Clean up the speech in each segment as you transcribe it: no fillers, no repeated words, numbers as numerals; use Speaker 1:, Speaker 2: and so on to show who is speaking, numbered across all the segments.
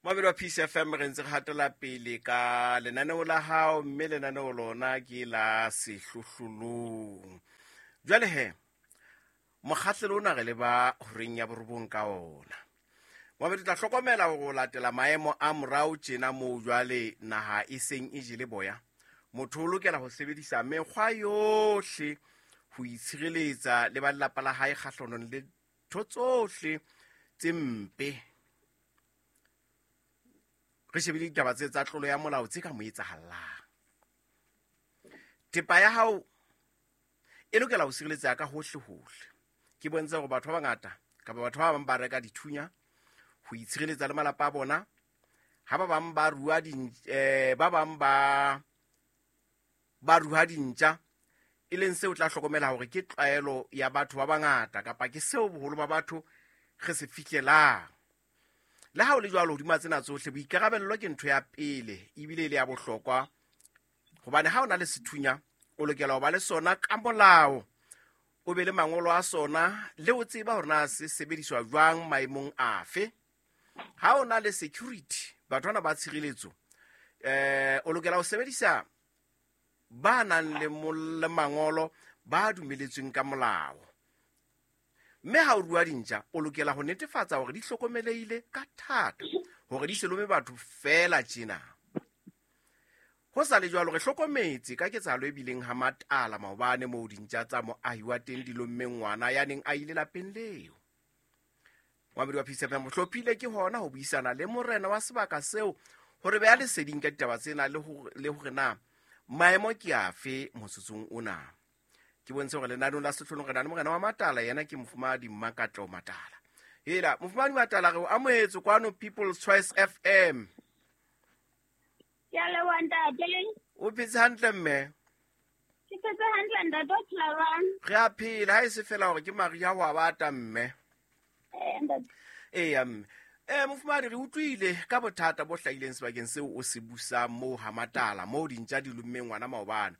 Speaker 1: Moabedi wa Peace FM, re ntse re hatela pele ka lenaneo la hao, mme lenaneo lona ke la Sehlohlolong. Jwale he, mokgahlelo ona re leba horeng ya borobong ka ona. Moabedi, tla hlokomela hore o latela maemo a morao tjena moo jwale naha e seng e jele boya. Motho o lokela ho sebedisa mekgwa yohle ho itshireletsa le ba lelapa la hae kgahlanong le ntho tsohle tse mpe. Re shebile ditaba tse tsa tlolo ya molao tse ka mo etsahallang. Thepa ya hao e lokela ho sireletseha ka hohle hohle. Ke bontshe hore batho ba bangata kapa batho ba bang ba reka dithunya ho itshireletsa le malapa a bona, ha ba bang ba rua ba bang ba rua dintja, e leng seo tla hlokomela hore ke tlwaelo ya batho ba bangata kapa ke seo boholo ba batho re se fihlelang. Le ha o le jwalo, hodima tsena tsohle, boikarabello ke ntho ya pele ebile e le ya bohlokwa, hobane ha o na le sethunya o lokela ho ba le sona ka molao, o be le mangolo a sona, le o tseba hore na se sebediswa jwang maemong afe. Ha o na le security, batho bana ba tshireletso, o lokela ho sebedisa ba nang le mangolo ba dumeletsweng ka molao. Mme ha o rua dintja, o lokela ho netefatsa hore di hlokomelehile ka thata, hore di se lome batho feela tjena. Ho sa le jwalo, re hlokometse ka ketsahalo e bileng ha Matala maobane, moo dintja tsa moahi wa teng di lommeng ngwana ya neng a ile lapeng leo. Moabedi wa Peace FM hlophile ke hona ho buisana le morena wa sebaka seo hore beha leseding ka ditaba tsena le hore na maemo ke afe motsotsong ona. Ke bontshe hore lenaneong la Sehlohlolong re na le morena wa Matala, yena ke Mofumahadi Mmakatleho Matala. Hela, Mofumahadi Matala, re o amohetse kwano People's Choice FM.
Speaker 2: Ke a leboha, ntate.
Speaker 1: O phetse hantle, mme?
Speaker 2: Ke phetse hantle, ntate, o phela jwang?
Speaker 1: Re a phela, ha e se fela hore ke mariha ho a bata, mme.
Speaker 2: Ntate.
Speaker 1: Eya, mme. Mofumahadi, re utlwile ka bothata bo hlahileng sebakeng seo o se busang moo ha Matala, moo dintja di lommeng ngwana maobane.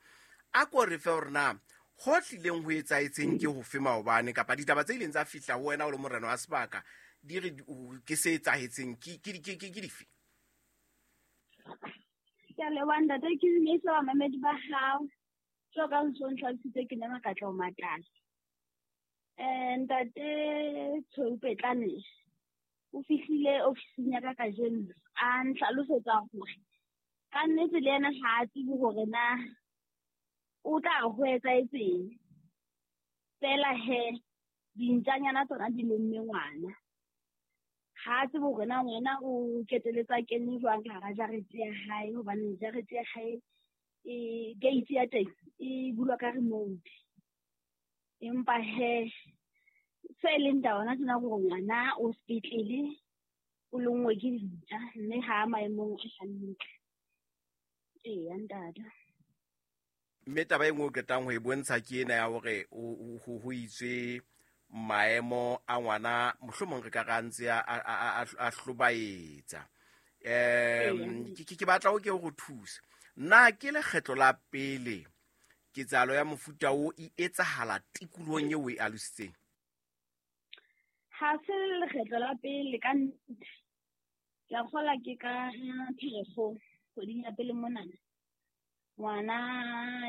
Speaker 1: A ko re fe hore na ho tlileng ho etsahetseng ke hofe maobane, kapa ditaba tse ileng tsa fihla ho wena o le morena wa sebaka di re ke se etsahetseng ke dife?
Speaker 2: Ke a leboha, ntate, ke dumedisa bamamedi ba hao. Jwalo ka ntso ntlhalositse, ke nna Makatleho Matala. Ntate Tshweu Petlane o fihlile ofising ya ka kajeno, a ntlhalosetsa hore ka nnete le yena ha a tsebe hore na o tla re ho etsahetseng. Feela he, dintjanyana tsona di lomme ngwana. Ha a tsebe hore na ngwana o keteletsa kene jwang ka hara jarete ya hae, hobane jarete ya hae e gate ya teng e bulwa ka remote. Empa he, se leng taba hona tjena ke hore ngwana o sepetlele, o lonngwe ke dintja, mme ha a maemong a hantle. Eya, ntate.
Speaker 1: Mme taba e nngwe o qetang ho e bontsha ke ena ya hore ho itswe maemo a ngwana, mohlomong re ka re a ntse a hlobaetsa. Ke batla o ke o re thuse. Na ke lekgetlo la pele ketsahalo ya mofuta o e etsahala tikolohong eo o e alositseng?
Speaker 2: Ha se lekgetlo la pele ka nnete. Ke a kgolwa ke ka Pherekgong, kgweding ya pele monana. Ngwana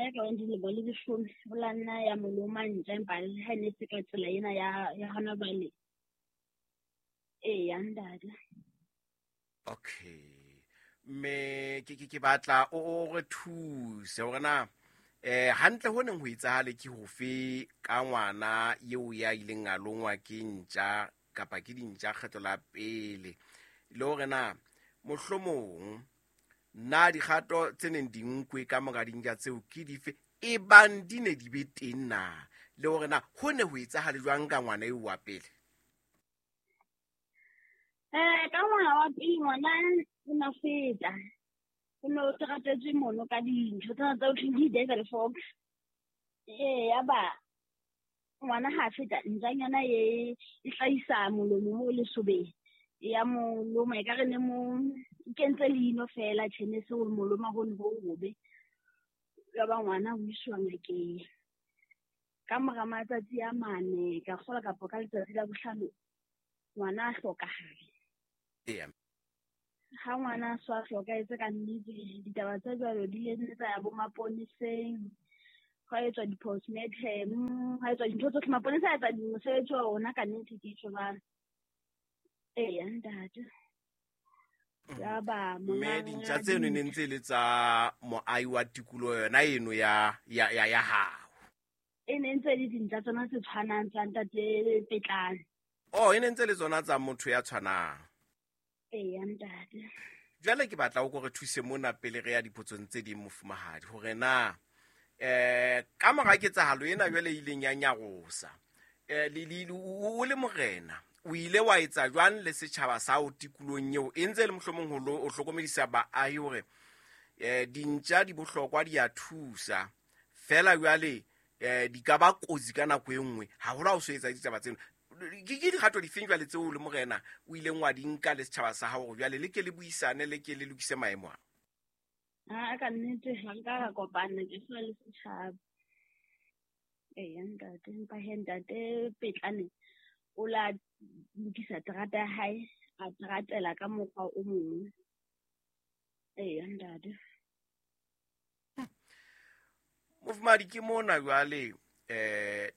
Speaker 2: ya ka bang dilemo le leshome o la nna ya mo loma ntja, empa le ha e ne se ka tsela ena ya hona jwale. Eya, ntate.
Speaker 1: Okay. Mme ke batla o re thuse hore na hantle ho neng ho etsahale ke hofe ka ngwana eo ya ileng a longwa ke ntja kapa ke dintja kgetlo la pele, le hore na mohlomong na dikgato tse neng di nkwe ka mora dintja tseo ke dife, e bang di ne di be teng na, le hore na ho ne ho etsahale jwang ka ngwana eo wa pele?
Speaker 2: Ka ngwana wa pele, ngwana o na feta. O ne o teratetswe mono ka dintho tsena tsa ho thweng ke di-devil fox. Ya ba ngwana ha feta, ntjanyana e hlahisa molomo mo lesobeng. Ya mo loma, ekare ne mo kentse leino feela, tjhe, ne se ho mo loma hono ho hobe. Ya ba ngwana o iswa ngakeng. Ka mora matsatsi a mane, ka kgolwa kapa ka letsatsi la bohlano, ngwana a hlokahala. Ha ngwana a so a hlokahetse ka nnete, ditaba tse jwalo di ile nne tsa ya bo maponeseng, hwa etswa di-postmortem, hwa etswa dintho tsohle. Maponesa a etsa mosebetsi wa ona ka nnete, ke tjho jwalo. Eya ntate. Yaba
Speaker 1: Mme dintja tseno ne ntse e le tsa moahi wa tikoloho yona eno ya hao?
Speaker 2: E ne ntse e le dintja tsona tse tshwanang tsa ntate Petlane.
Speaker 1: Oh, e ne ntse le tsona tsa motho ya tshwanang.
Speaker 2: Eya ntate.
Speaker 1: Jwale ke batla o ko re thuse mona pele re ya dipotsong tse ding, mofumahadi, hore na ka mora ketsahalo ena jwale e ileng ya nyarosa, o le morena o ile wa etsa jwang le setjhaba sa o tikolong eo e ntse e le mohlomong ho hlokomedisa baahi hore dintja di bohlokwa, di a thusa fela jwale di ka ba kotsi ka nako e nngwe haholo ha o so etsa ditaba tseno. Ke dikgato difeng jwale tseo le morena o ileng wa di nka le setjhaba sa hao hore jwale le ke le buisane, le ke le lokise maemo a?
Speaker 2: Ha ka nnete ha nka ka kopana ke so le setjhaba. Eya ntate, empa he ntate Petlane o la lokisa terata ya hae, a teratela ka mokgwa o mong. Eya ntate.
Speaker 1: Mofumahadi, ke mona jwale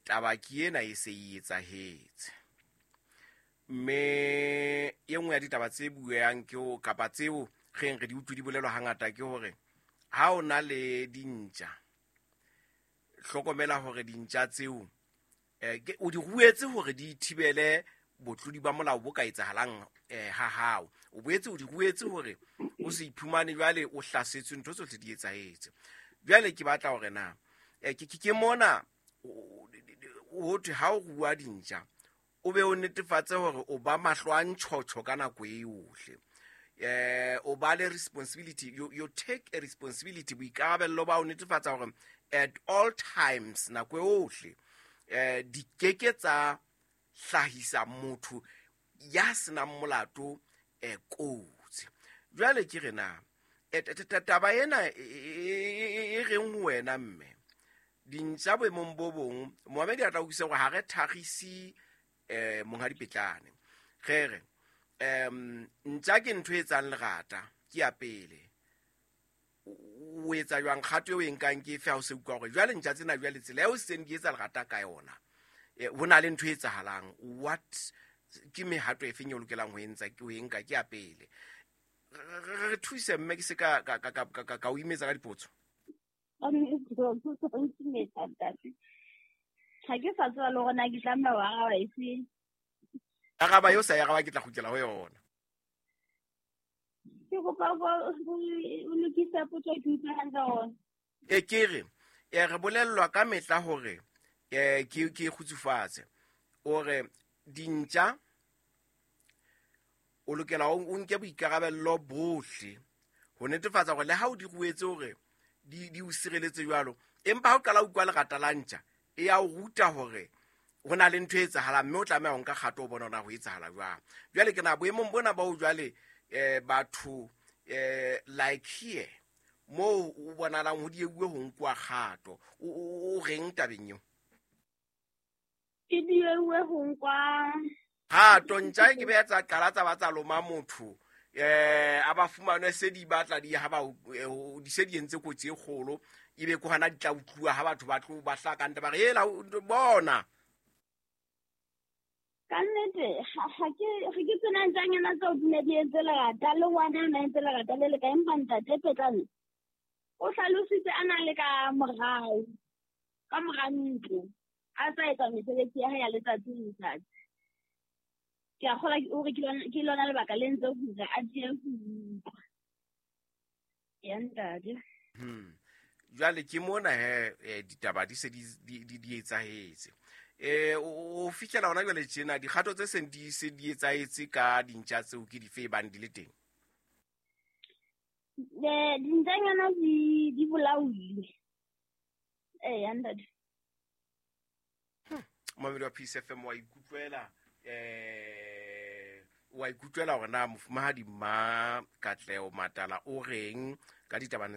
Speaker 1: taba ke ena e se e etsahetse. Mme e nngwe ya ditaba tse bueang ke ho kapa tseo re di utlwe di bolelwa hangata ke hore ha o na le dintja, hlokomela hore dintja tseo o di ruetse hore di thibele botlodi ba molao bo ka etsahalang ha hao. O boetse o di ruetse hore o se iphumane jwale o hlasetswe, ntho tsohle di etsahetse. Jwale ke batla hore na ke mona ho thwe ha o rua dintja o be o netefatse hore o ba mahlo a ntjhotjho ka nako e yohle. O ba le responsibility, you take a responsibility, boikarabello ba o netefatsa hore at all times, nako yohle, di keke tsa hlahisa motho ya senang molato kotsi. Jwale ke re na taba ena e reng ho wena mme dintja boemong bo bong, Mohamedi a tla utlwisisa hore ha re thagise monghadi Petlane. Re re ntja ke ntho e etsang lerata, ke ya pele. O etsa jwang kgato eo e nkang ke efe ha o se utlwa hore jwale ntja tsena jwale tsela eo seng di etsa lerata ka yona, ho na le ntho e etsahalang? What ke mehato e feng e o lokelang ho entsa ke ho e nka? Ke ya pele. Re thuse mme, ke se ka ka ka ka ka o imetsa ka dipotso.
Speaker 2: Ha ke sa tseba le hore na ke tlameha ho araba efe.
Speaker 1: Araba eo sa e araba, ke tla kgutlela ho yona.
Speaker 2: Ke kopa o lokise potso, ke utlwe hantle hore.
Speaker 1: Ke re, re bolellwa ka mehla hore ke kgutsufatse. O re dintja o lokela o nke boikarabello bohle ho netefatsa hore le ha o di ruetse hore di o sireletse jwalo, empa ha o qala o utlwa lerata la ntja, e ya o ruta hore ho na le ntho e etsahalang, mme o tlameha ho nka kgato o bona hore na ho etsahala jwang. Jwale ke na boemong bona ba ho jwale batho like here moo o bonahalang ho dieuwe ho nkuwa kgato, o reng tabeng eo?
Speaker 2: Ke dieuwe ho nkwa
Speaker 1: kgato. Ntja e ke be tsa qala tsa ba tsa loma motho, a ba fumanwe se di batla di ha ba di se di entse kotsi e kgolo, ebe ke hona di tla utluwa ha batho ba tlo ba hlaka ntle ba re hela bona.
Speaker 2: Ka nnete ha ke tsena ntjanyana tseo di ne di entse lerata, le ngwana a na entse lerata le le ka, empa ntate Petlane o hlalositse a na le ka morao, ka mora ntlo, a sa etsa mesebetsi ya hae ya letsatsi le letsatsi. Ke a kgolwa hore ke lona lebaka le entse hore a die ho utlwa. Ya ntate.
Speaker 1: Jwale ke mona he ditaba di se di etsahetse. O fihlela hona jwale tjena dikgato tse seng di se di etsahetse ka dintja tseo ke dife e bang di le teng?
Speaker 2: Dintjanyana di bolailwe. Ya ntate.
Speaker 1: Momamedi wa Peace FM wa ikutlwela, wa ikutlwela hore na mofumahadi Mma Katleho Matala o reng ka ditaba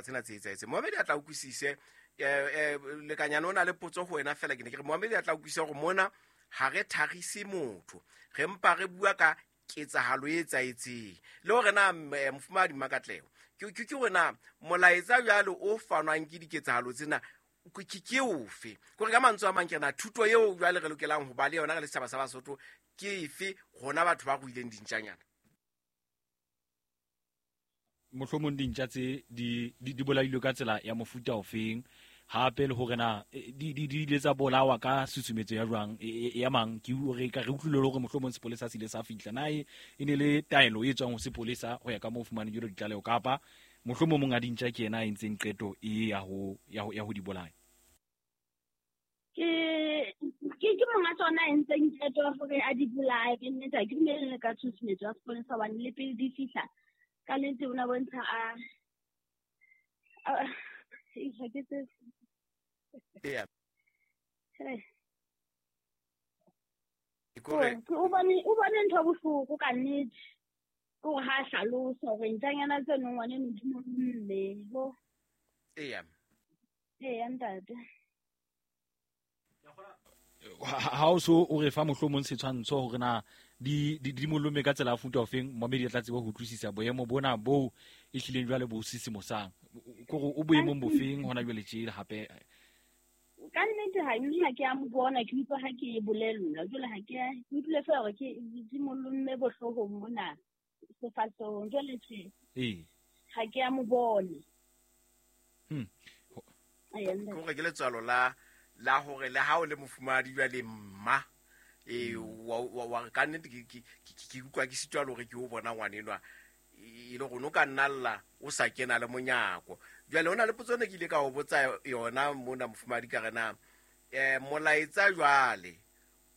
Speaker 1: tsena tse etsahetseng. Momamedi a tla utlwisise, lekanyane o na le potso ho wena fela, ke ne ke re momamedi a tla utlwisise hore mona ha re thagise motho, re mpa re bua ka ketsahalo e etsahetseng. Le hore na mofumahadi Mmakatleho ke hore na molaetsa jwale o fanwang ke diketsahalo tsena ke ofe. Kore ka mantswe a mang ke na thuto eo jwale re lokelang ho ba le yona re le setjhaba sa Basotho ke efe rona batho ba ruileng dintjanyana.
Speaker 3: Mohlomong dintja tse di bolailwe ka tsela ya mofuta ofeng, hape le hore na di ile tsa bolawa ka susumetso ya jwang ya mang. Ke re ka re utlwile hore mohlomong sepolesa se ile sa fihla, na e ne le taelo e tswang ho sepolesa ho ya ka moo fumaneng jalo ditlaleho, kapa mohlomong monga dintja ke yena a entseng qeto e ya ho di bolaya?
Speaker 2: Ke monga tsona a entseng qeto ya hore a di bolaye. Ke nnete ha ke dumele ka tshusumetso ya sepolesa, hobane le pele di fihla ka nnete o na bontsha a ha ke tsebe.
Speaker 1: Eya.
Speaker 2: O bone ntho bohloko ka nnete. Ke hore ha hlalosa hore ntjanyana tseno ngwaneno di mo mme.
Speaker 1: Eya.
Speaker 2: Eya ntate.
Speaker 3: Ha o so o re fa mohlomong setshwantsho hore na di molome ka tsela ya futa ofeng, momedi tla tseba ho utlwisisa boemo bona bo e hlileng jwale bo sisimosang. Kore o boemong bofeng hona jwale tje hape?
Speaker 2: Ka nnete ha nna ke a mo bona, ke utlwa ha ke e bolellwa. Jwale ha ke utlwile feela hore ke di molomme bohloohong mona sefahlehong. Jwale tje ha ke a mo bone.
Speaker 1: Kore ke letswalo la hore le ha o le mofumahadi jwale mma wa ka nnete ke utlwa ke sitwa le hore ke o bona ngwanenwa e le hore o ka nna lla o sa kena le monyako. Jwale hona le potso ne ke ile ka o botsa yona mona mofumahadi ka re na molaetsa jwale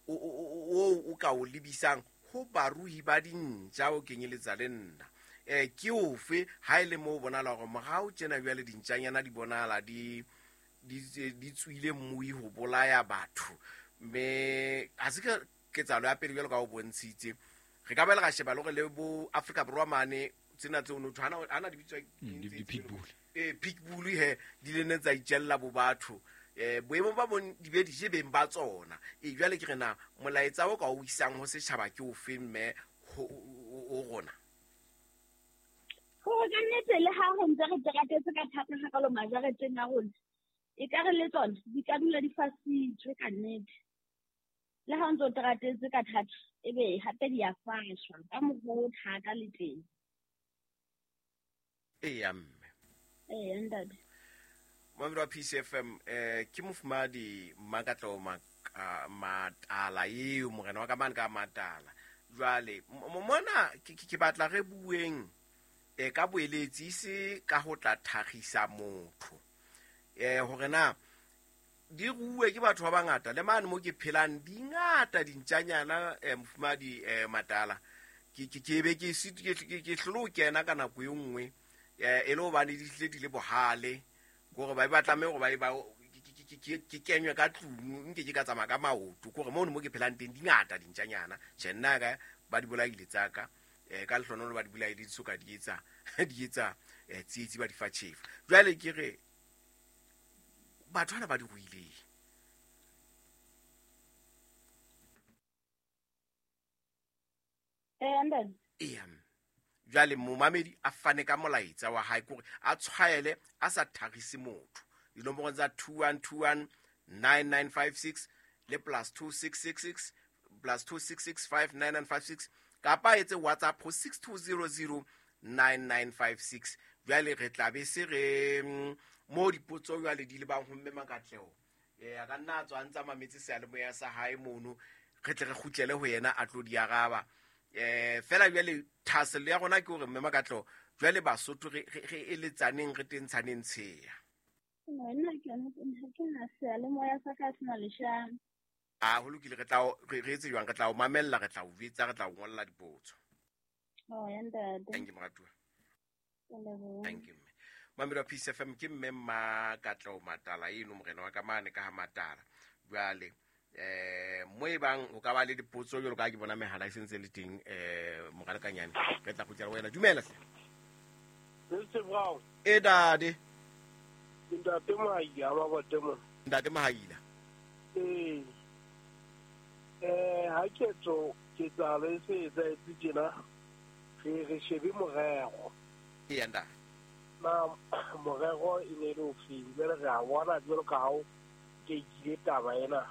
Speaker 1: o ka o lebisang ho baruhi ba dintja o kenyeletsa le nna ke ofe ha e le moo bonahala hore morao tjena jwale dintjanyana di bonahala di tswile mmui ho bolaya batho, mme ha se ketsahalo ya pele jwalo ka o bontshitse. Re ka ba le ra sheba le hore le bo Afrika Borwa mane tsena tseo no hana di bitswa
Speaker 3: di-pitbull.
Speaker 1: Pitbull he di le ne tsa itjella bo batho boemong ba bon di be di je beng ba tsona. Jwale ke re na molaetsa o ka o isang ho setjhaba ke ofe mme ho rona?
Speaker 2: Hore ka nnete le ha ho ntse re teratetse ka thata hakalo majareteng a rona, e ka re le tsona di ka dula di fasitswe ka nnete. Le ha o ntse o teratetse ka thata, ebe hape di a fashwa ka mokgwa o thata le teng.
Speaker 1: Eya mme.
Speaker 2: Eya ntate.
Speaker 1: Momedi wa PCFM ke mofumahadi Mmakatleho Matala eo morena wa ka mane ka Matala. Jwale mona ke batla re bueng ka boeletsi se ka ho tla thagisa motho. Hore na di ruwe ke batho ba bangata le mane mo ke phelang di ngata dintjanyana mofumahadi Matala. Ke be ke ke hlolo kena ka nako e nngwe e le hobane di tlile di le bohale kore ba tlameha hore ba ke kenywe ka tlung nke ke ka tsamaya ka maoto. Kore mono mo ke phelang teng di ngata dintjanyana. Tjhe nna ka ba di bolaile tsa ka ka lehlohonolo ba di bolaile di soka di etsa tsietsi ba di fa tjhefu. Jwale ke re batho bana ba di ruileng. Eya. Jwale momamedi a fane ka molaetsa wa hae kore a tshwaele a sa thagise motho. Dinomoro tsa 2121 9956 le +2666 +2665 9956 kapa etse WhatsApp ho 6200 9956. Jwale re tla be se re mo dipotso jwale di lebang ho mme Makatleho. A ka nna a tswa ntsa mametse seyalemoya sa hae mono, re tle re kgutlele ho yena a tlo di araba. Fela jwale thahasello ya rona ke hore mme Makatleho jwale Basotho re eletsaneng re tentshaneng tsheya.
Speaker 2: Nna ke ha ke na seyalemoya sa ka sena leshano.
Speaker 1: A ho lokile, re tla re etse jwang? Re tla o mamella, re tla o jwetsa, re tla o ngolla dipotso.
Speaker 2: Oh ya ntate.
Speaker 1: Thank you moratuwa. Thank you. Mamedi wa Peace FM ke mme Mmakatleho Matala eno morena wa ka mane ka ha Matala. Jwale mo e bang o ka ba le dipotso jwalo ka ke bona mehala e sentse le teng moralekanyane re tla kgutlela wena. Dumela hle.
Speaker 4: Mr. Brown.
Speaker 1: E dade.
Speaker 4: Ntate Mahaila ba botemo.
Speaker 1: Ntate Mahaila.
Speaker 4: Ha ketso Ketsahalo e se etsahetse tjena, re shebe morero.
Speaker 1: Eya ntate.
Speaker 4: Na morero e ne e le ofeng? Jwale re a bona jwalo ka ha o tekile taba ena.